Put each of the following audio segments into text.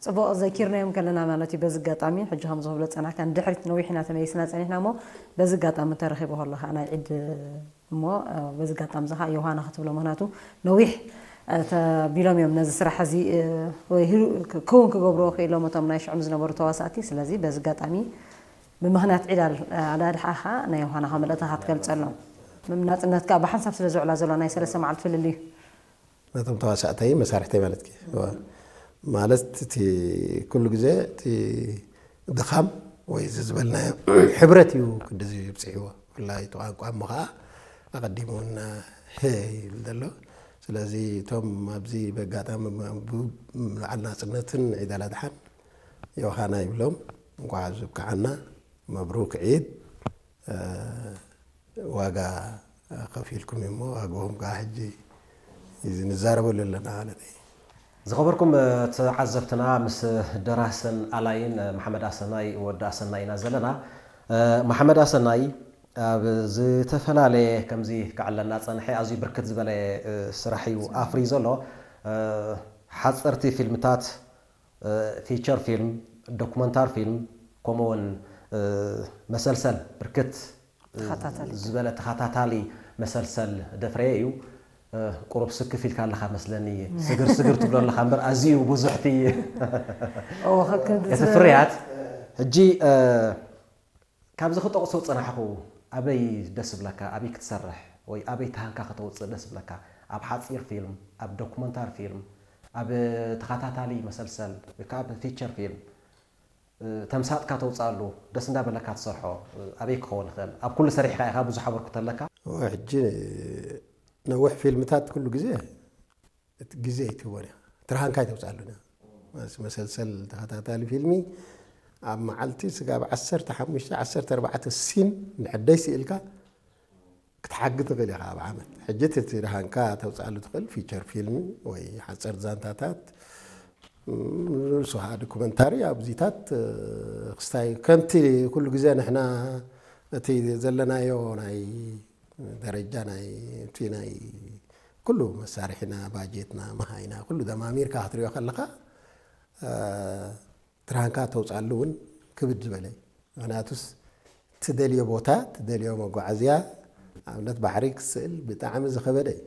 ጽቡቕ፣ ዘኪርናዮም ከለና ማለት እዩ። በዚ ኣጋጣሚ ሕጂ ከም ዝብሎ ጸናሕካ ንድሕሪት ነዊሕ ኢና ተመሊስና ጸኒሕና እሞ፣ በዚ ኣጋጣሚ ተረኺቡ ከሎ ከዓ ናይ ዒድ እሞ፣ በዚ ኣጋጣሚ እዚ ከዓ ዮሃና ክትብሎ፣ ምኽንያቱ ነዊሕ ተቢሎም እዮም ነዚ ስራሕ እዚ ወይ ክውን ክገብርዎ ክኢሎም እቶም ናይ ሽዑም ዝነበሩ ተዋሳእቲ። ስለዚ በዚ ኣጋጣሚ ብምኽንያት ዒድ ኣል ኣዳድሓ ከዓ ናይ ዮሃና መልእኽትኻ ትገልጸሎም። ናጽነት ከዓ ብሓንሳብ ስለ ዝውዕላ ዘሎ ናይ ሰለስተ መዓልቲ ፍልልዩ። ነቶም ተዋሳእተይ መሳርሕተይ ማለት እዩ። ማለት እቲ ኩሉ ግዜ እቲ ድኻም ወይ እዚ ዝበልናዮ ሕብረት እዩ ክንድዚ ይብፅሕዎ። ብፍላይ እቲ ቋንቋ እሞ ከዓ ኣቐዲሙ እና ሄ ይብል ዘሎ። ስለዚ እቶም ኣብዚ በጋጣሚ ብ-፣ ብ-፣ በዓል ናፅነትን ዒድ ኣል ኣድሓን ዮሃና ይብሎም። እንኳዕ ዝብቅዓና። መብሩክ ዒድ። ዋጋ ከፊልኩም እሞ ዋግኦም ከዓ ሕጂ እዚ ንዛረበሉ ኣለና ማለት እዩ። ዝኸበርኩም ተዓዘብትና፣ ምስ ደራስን ኣላይን መሓመድ ኣሰናይ ወዲ ኣሰናይ ኢና ዘለና። መሓመድ ኣሰናይ ኣብ ዝተፈላለየ ከምዚ ክዕለና ጸንሐ ኣዝዩ ብርክት ዝበለ ስራሕ እዩ ኣፍርዩ ዘሎ። ሓጸርቲ ፊልምታት፣ ፊቸር ፊልም፣ ዶኩመንታሪ ፊልም፣ ከምኡውን መሰልሰል ብርክት ተኸታታሊ። ዝበለ ተኸታታሊ መሰልሰል ደፍረየ እዩ። ቁሩብ ስክፍ ኢልካ ኣለኻ መስለኒ፣ ስግር ስግር ትብሎ ኣለኻ እምበር ኣዝዩ ብዙሕ እቲ እዎ፣ ከከም እቲ ዝነበረ ፍርያት። ሕጂ ካብዚ ክጠቕሶ ዝጸናሕኹ ኣበይ ደስ ብለካ፣ ኣበይ ክትሰርሕ ወይ ኣበይ ተሃንካ ከተውጽእ ደስ ብለካ? ኣብ ሓጺር ፊልም፣ ኣብ ዶኩመንታሪ ፊልም፣ ኣብ ተኸታታሊ መሰልሰል ወይ ከዓ ኣብ ፊቸር ፊልም ተምሳጥካ ተውጽኣሉ ደስ እንዳበለካ ትሰርሖ ኣበይ ክኸውን ይኽእል? ኣብ ኩሉ ሰሪሕካ ኢኻ፣ ብዙሕ ኣበርክቶ ኣለካ። እወ፣ ሕጂ ነዊሕ ፊልምታት ኩሉ ግዜ እቲ ግዜ ኣይትህቦን ኢኻ። ትርሃንካ ኣይተውፅኣሉን ኢኻ። መስ-፣ መሰልሰል ተኸታታሊ ፊልሚ ኣብ መዓልቲ ስጋብ ዓሰርተ ሓሙሽተ ዓሰርተ ኣርባዕተ ሲን ንዕደይ ስኢልካ ክትሓግ ትኽእል ኢኻ ኣብ ዓመት። ሕጂ እቲ ትርሃንካ ተውፅኣሉ ትኽእል ፊቸር ፊልም ወይ ሓፀርቲ ዛንታታት፣ ም፣ ንሱ ከዓ ዶኩመንታሪ ኣብዚታት፣ እ፣ ክስታይ ከምቲ ኩሉ ግዜ ንሕና እቲ ዘለናዮ ናይ ደረጃ ናይ፣ እቲ ናይ ኩሉ መሳርሒና፣ ባጀትና፣ መሃይና፣ ኩሉ ደማሚርካ ክትሪኦ ከለኻ፣ እ፣ ትርሃንካ ተውፅኣሉ እውን ክብድ ዝበለ እዩ። ምኽንያቱስ ትደልዮ ቦታ፣ ትደልዮ መጓዓዝያ፣ ኣብነት ባሕሪ ክትስእል ብጣዕሚ ዝኸበደ እዩ።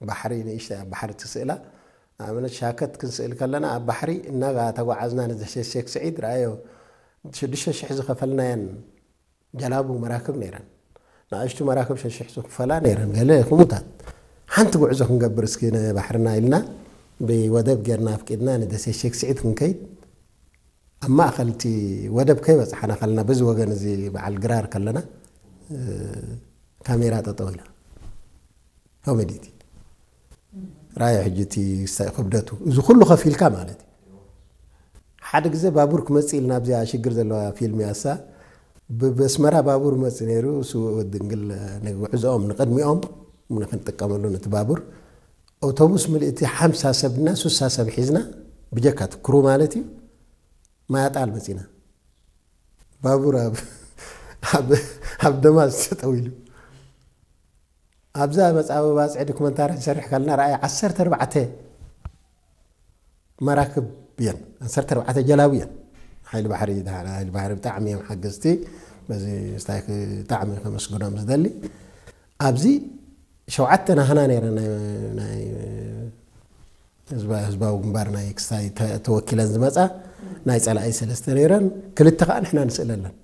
ባሕሪ ንእሽተይ ኣብ ባሕሪ ትስእላ። ንኣብነት ሻከት ክንስእል ከለና ኣብ ባሕሪ እናተጓዓዝና ንዘሸሸክ ስዒድ ረኣዮ፣ ሽዱሽተ ሽሕ ዝኸፈልናየን ጀላቡ መራክብ ነይረን። ንኣሽቱ መራክብ ሸሽሕ ዝኽፈላ ነይረን። ገለ ክሙታት። ሓንቲ ጉዕዞ ክንገብር እስኪ ንባሕርና ኢልና ብወደብ ጌርና ኣፍቂድና ንደሴት ሼክ ስዒድ ክንከይድ፣ ኣብ ማእኸል እቲ ወደብ ከይበፃሕና ከለና በዚ ወገን እዚ በዓል ግራር ከለና፣ እ፣ ካሜራ ጠጠው ኢላ። ኮሜዲ እቲ። ራእዮ ሕጂ እቲ ክብደቱ። እዚ ኩሉ ከፊልካ ማለት እዩ። ሓደ ግዜ ባቡር ክመጽእ ኢልና ኣብዚኣ ሽግር ዘለዋ ፊልም እያ እሳ። ብ-፣ ብኣስመራ ባቡር መጽእ ነይሩ። እሱ ወዲ ድንግል ንጉዕዞኦም ንቕድሚኦም ንክንጥቀመሉ ነቲ ባቡር። ኣውቶቡስ ምልእቲ ሓምሳ ሰብና ሱሳ ሰብ ሒዝና፣ ብጀካ እቲ ክሩ ማለት እዩ፣ ማያጣል መጺና። ባቡር ኣብ፣ ኣብ፣ ኣብ ደማዝ ተጠው ኢሉ። ኣብዛ መጻበባ ጽዒ ዶክመንታሪ ክንሰርሕ ከለና ረኣየ ዓሰርተ ኣርባዕተ መራክብ እየን፣ ዓሰርተ ኣርባዕተ ጀላቡ እየን። ሓይሊ ባሕሪ፣ ሓይሊ ባሕሪ ብጣዕሚ እዮም ሓገዝቲ። በዚ ስታይ ብጣዕሚ ከመስግኖም ዝደሊ። ኣብዚ ሸውዓተ ናህና ነይረን ናይ፣ ናይ ህዝባ-፣ ህዝባዊ ግንባር ናይ ክስታይ ተ-፣ ተወኪለን ዝመጻ፣ ናይ ጸላኢ ሰለስተ ነይረን፣ ክልተ ከኣ ንሕና ንስእለለን።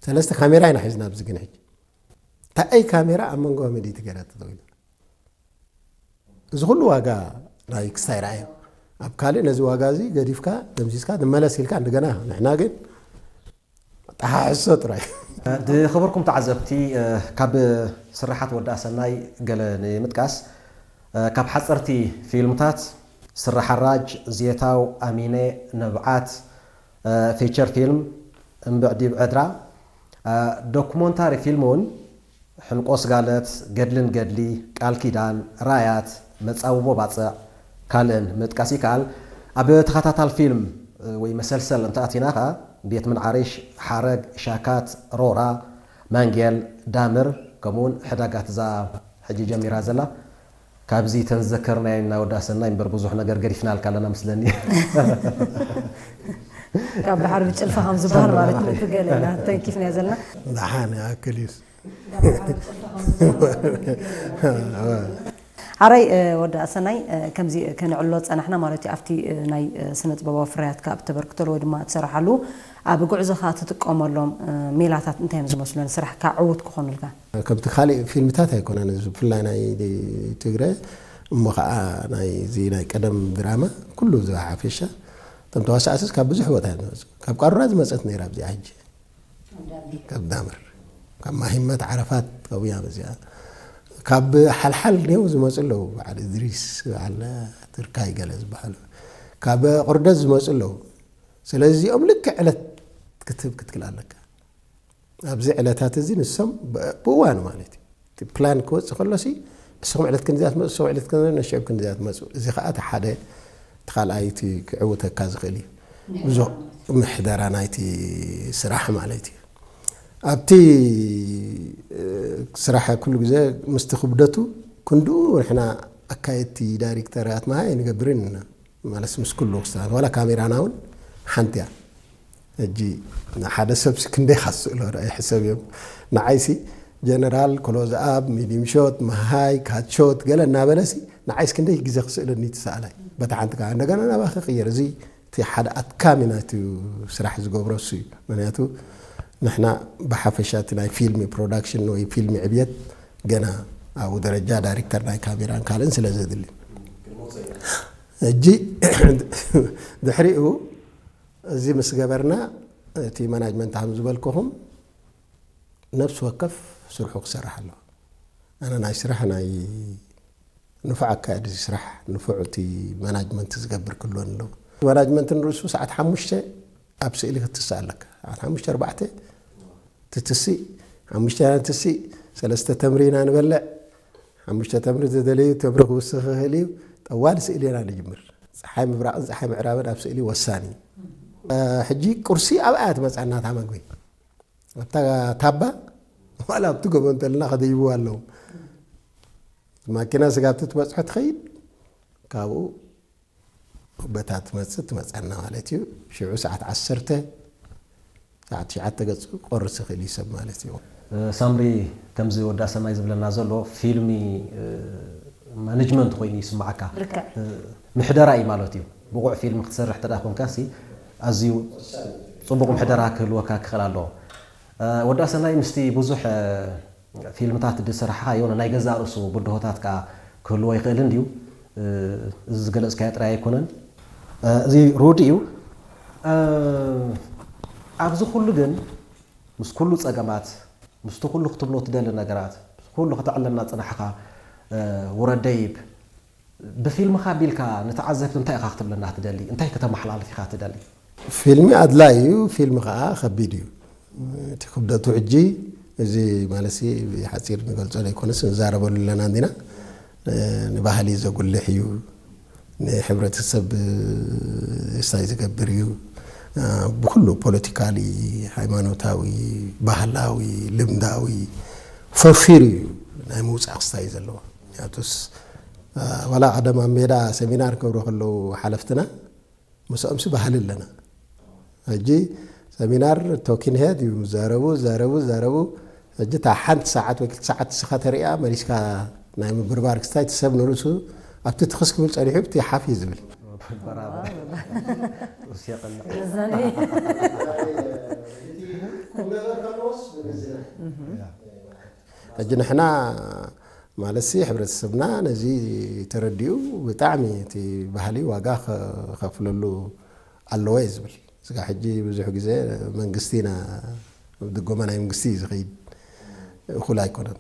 ሰለስተ ካሜራ ኢና ሒዝና ኣብዚ ግን ሕጂ። እታ ኣይ ካሜራ ኣብ መንጎ ምድሪ ትገይራ ተጠቒምና። እዚ ኩሉ ዋጋ ናይ ክስታይ ረኣዮ። ኣብ ካልእ ነዚ ዋጋ እዚ ገዲፍካ፣ ደምሲስካ፣ ንመለስ ኢልካ፣ እንደገና ንሕና ግን ጠሓሕሶ ጥራይ። ዝኸበርኩም ተዓዘብቲ፣ ካብ ስርሓት ወዲ ኣሰናይ ገለ ንምጥቃስ፣ ካብ ሓፀርቲ ፊልምታት ስረ ሓራጅ፣ ዜታው፣ ኣሚነ፣ ንብዓት፣ ፊቸር ፊልም፣ እምብዕዲ ብዕድራ፣ ዶኩሞንታሪ ፊልም እውን ሕንቆ ስጋለት፣ ገድልን ገድሊ፣ ቃል ኪዳን፣ ራያት፣ መጻብቦ ባጽዕ፣ ካልእን ምጥቃስ ይከኣል። ኣብ ተኸታታል ፊልም ወይ መሰልሰል እንተኣቲና ኸኣ ቤት ምንዓርሽ፣ ሓረግ፣ ሻካት፣ ሮራ፣ ማንጌል፣ ዳምር፣ ከምኡውን ሕዳጋት እዛ ሕጂ ጀሚራ ዘላ ካብዚ ተንዘከርናዮ እና ወዲ ኣሰናይ እምበር ብዙሕ ነገር ገዲፍናልካ ኣለና ምስለኒ። ካብ ድሓር ብጭልፋ ከም ዝበሃል ማለት ነው። እቲ ገለ ኢና ተንኪፍናዮ ዘለና። ደሓን ይኣክል እዩስ። ሓራይ ወዲ ኣሰናይ ከምዚ ከነዕሎ ጸናሕና ማለት እዩ። ኣብቲ ናይ ስነ ጥበባዊ ፍርያትካ ኣብ ተበርክተሉ ወይ ድማ ትሰርሓሉ ኣብ ጉዕዞኻ ትጥቀመሎም ሜላታት እንታይ እዮም ዝመስሉ ንስራሕካ ዕዉት ክኾኑልካ? ከምቲ ካሊእ ፊልምታት ኣይኮነን እዚ ብፍላይ ናይ ትግረ እሞ ከዓ ናይዚ ናይ ቀደም ድራማ ኩሉ እዚ ሓፈሻ እቶም ተዋሳእትስ ካብ ብዙሕ ቦታ እዮም ዝመፁ። ካብ ቃሩራ ዝመፀት ነይራ ኣብዚኣ ሕጂ ካብ ዳምር ካብ ማሂመት ዓረፋት ካብያ በዚኣ ካብ ሓልሓል ኔው ዝመፁ ኣለዉ። በዓል እድሪስ በዓል ትርካይ ገለ ዝበሃሉ ካብ ቁርደት ዝመፁ ኣለዉ። ስለዚ እዚኦም ልክዕ ዕለት ክትህብ ክትክል ኣለካ። ኣብዚ ዕለታት እዚ ንሶም ብእዋኑ ማለት እዩ እቲ ፕላን ክወፅእ ከሎሲ ንስኹም ዕለት ክንዚኣ ትመፁ፣ ንስኹም ዕለት ክንዚኣ ነሽዕብ ክንዚኣ ትመፁ። እዚ ከዓ እቲ ሓደ እቲ ካልኣይ እቲ ክዕውተካ ዝኽእል እዩ። ብዙ ምሕደራ ናይቲ ስራሕ ማለት እዩ። ኣብቲ ስራሕ ኩሉ ግዜ ምስቲ ክብደቱ ክንድኡ ንሕና ኣካየድቲ ዳይሬክተራት መሃ ኣይንገብርን ኢና። ማለት ምስ ኩሉ ክስተኻኸል ዋላ ካሜራና እውን ሓንቲ እያ። ሕጂ ንሓደ ሰብሲ ክንደይ ካስእሎ ርኣይ ሕሰብ እዮም። ንዓይሲ ጀነራል ክሎዝ ኣብ ሚዲም ሾት መሃይ ካት ሾት ገለ እናበለሲ ንዓይስ ክንደይ ግዜ ክስእለኒ ትሰኣላይ በታ ሓንቲ ከዓ እንደገና ናባኸ ቅየር እዚ እቲ ሓደ ኣድካሚ ናይቲ ስራሕ ዝገብሮ እሱ እዩ። ምክንያቱ ንሕና ብሓፈሻ እቲ ናይ ፊልሚ ፕሮዳክሽን ወይ ፊልሚ ዕብየት ገና ኣብኡ ደረጃ ዳይሬክተር ናይ ካሜራን ካልእን ስለ ዘድሊ ሕጂ ድሕሪኡ እዚ ምስ ገበርና እቲ ማናጅመንት ከም ዝበልኩኹም ነብሲ ወከፍ ስርሑ ክሰርሕ ኣለዎ። ኣነ ናይ ስራሕ ናይ ንፉዕ ኣካየዲ ስራሕ ንፉዕ እቲ ማናጅመንት ዝገብር ክህልወኒ ኣለዎ። ማናጅመንት ንርእሱ ሰዓት ሓሙሽተ ኣብ ስእሊ ክትስእ ኣለካ። ሰዓት ሓሙሽተ ኣርባዕተ ትትስእ ሓሙሽተ ኢና ንትስእ ሰለስተ ተምሪ ኢና ንበልዕ ሓሙሽተ ተምሪ ዝደለዩ ተምሪ ክውስኽ ይኽእል እዩ። ጠዋል ስእሊ ኢና ንጅምር። ፀሓይ ምብራቕን ፀሓይ ምዕራብን ኣብ ስእሊ ወሳኒ እዩ። ሕጂ ቁርሲ ኣብኣ እያ ትመፅኣና እታ መግቢ ኣብታ ታባ ዋላ ኣብቲ ጎቦ እንተልና ከደይብዋ ኣለዎም። ማኪና ስጋብቲ ትበፅሖ ትኸይድ ካብኡ በታ ትመፅእ ትመፀና ማለት እዩ። ሽዑ ሰዓት ዓሰርተ ሰዓት ትሽዓተ ገፁ ቆርስ ይኽእል እዩ ሰብ ማለት እዩ። ሳምሪ ከምዚ ወዲ ኣሰናይ ዝብለና ዘሎ ፊልሚ ማኔጅመንት ኮይኑ ይስማዓካ። ልክዕ። ምሕደራ እዩ ማለት እዩ። ብቑዕ ፊልም ክትሰርሕ ተዳ ኮንካ ሲ ኣዝዩ ፅቡቕ ምሕደራ ክህልወካ ክኽእል ኣለዎ። ወዲ ኣሰናይ ምስቲ ብዙሕ ፊልምታት ዝሰራሕኻዮ ናይ ገዛእ ርእሱ ብድሆታት ከኣ ክህልዎ ይኽእል እንድዩ። እዚ ዝገለጽካዮ ጥራይ ኣይኮነን። እዚ ሩድ እዩ። ኣብዚ ኩሉ ግን ምስ ኩሉ ጸገማት ምስቲ ኩሉ ክትብሎ ትደሊ ነገራት ምስ ኩሉ ከተዕለና ጽናሕኻ ውረድ ደይብ ብፊልምኻ ኣቢልካ ንተዓዘብቲ እንታይ ኢኻ ክትብለና ትደሊ እንታይ ከተመሓላልፍ ኢኻ ትደሊ? ፊልሚ ኣድላይ እዩ፣ ፊልሚ ከዓ ከቢድ እዩ። እቲ ክብደቱ ሕጂ እዚ ማለት ሓፂር ንገልፆ ዘይኮነስ ንዛረበሉ ኣለና እንዲና ንባህሊ ዘጉልሕ እዩ፣ ንሕብረተሰብ ስታይ ዝገብር እዩ፣ ብኩሉ ፖለቲካሊ፣ ሃይማኖታዊ፣ ባህላዊ፣ ልምዳዊ ፈርፊሩ እዩ ናይ ምውፃእ ክስታይ ዘለዎ። ምክንያቱስ ዋላ ቀደም ኣብ ሜዳ ሰሚናር ክገብሩ ከለዉ ሓለፍትና ምስኦምሲ ባህሊ ኣለና። ሕጂ ሰሚናር ቶኪን ሄድ እዩ ዛረቡ ዛረቡ ዛረቡ ሕጂ እታ ሓንቲ ሰዓት ወይ ክልተ ሰዓት ንስኻ ተሪኣ መሊስካ ናይ ምብርባር ክስታይ እቲ ሰብ ንርእሱ ኣብቲ ትኽስ ክብል ጸኒሑ ብቲ ሓፍ እዩ ዝብል። ሕጂ ንሕና ማለትሲ ሕብረተሰብና ነዚ ተረዲኡ ብጣዕሚ እቲ ባህሊ ዋጋ ከፍለሉ ኣለዎ እየ ዝብል። ስጋ ሕጂ ብዙሕ ግዜ መንግስቲ ኢና ድጎማ ናይ መንግስቲ እዩ ዝኸይድ እኹል ኣይኮነን።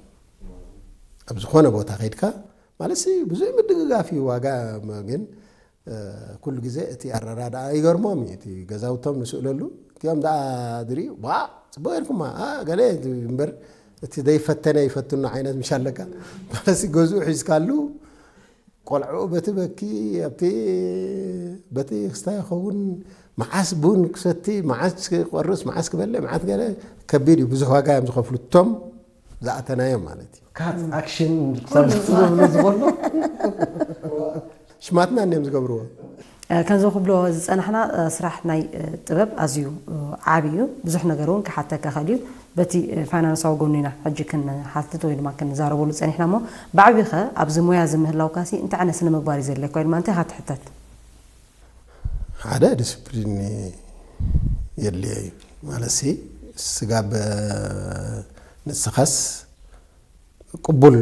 ኣብ ዝኾነ ቦታ ከይድካ ማለትሲ ብዙሕ ምድግጋፍ እዩ ዋጋ ግን ኩሉ ግዜ እቲ ኣረዳድኣ ይገርሞም እዩ። እቲ ገዛውቶም ንስእለሉ እቲኦም ደኣ ድሪኡ ዋ ፅቡቅ ኢልኩማ ገለ እምበር እቲ ዘይፈተነ ይፈትኖ ዓይነት ምሽ ኣለካ ማለትሲ ገዝኡ ሒዝካሉ ቆልዕኡ በቲ በኪ ኣብቲ በቲ ክስታይ ይኸውን መዓስ ቡን ክሰቲ መዓስ ክቆርስ መዓስ ክበልዕ መዓስ ገለ ከቢድ እዩ። ብዙሕ ዋጋ እዮም ዝኸፍሉ እቶም ዝኣተናዮ ማለት እዩ። ካት ኣክሽን ክሳብ ዝብሉ ዝኾኑ ሽማትና እንዲዮም ዝገብርዎ። ከምዚ ክብሎ ዝፀናሕና ስራሕ ናይ ጥበብ ኣዝዩ ዓብዪ እዩ። ብዙሕ ነገር እውን ክሓተካ ኽእል እዩ። በቲ ፋይናንሳዊ ጎኑ ኢና ሕጂ ክንሓትት ወይ ድማ ክንዛረበሉ ፀኒሕና። እሞ ብዓብይኸ ኣብዚ ሞያ እዚ ምህላውካሲ እንታይ ዓይነት ስነ ምግባር እዩ ዘድልየካ ወይ ድማ እንታይ ኢኻ ትሕተት? ሓደ ዲስፕሊን የድልዮ እዩ ማለት ሲ ስጋብ ንስኻስ ቅቡል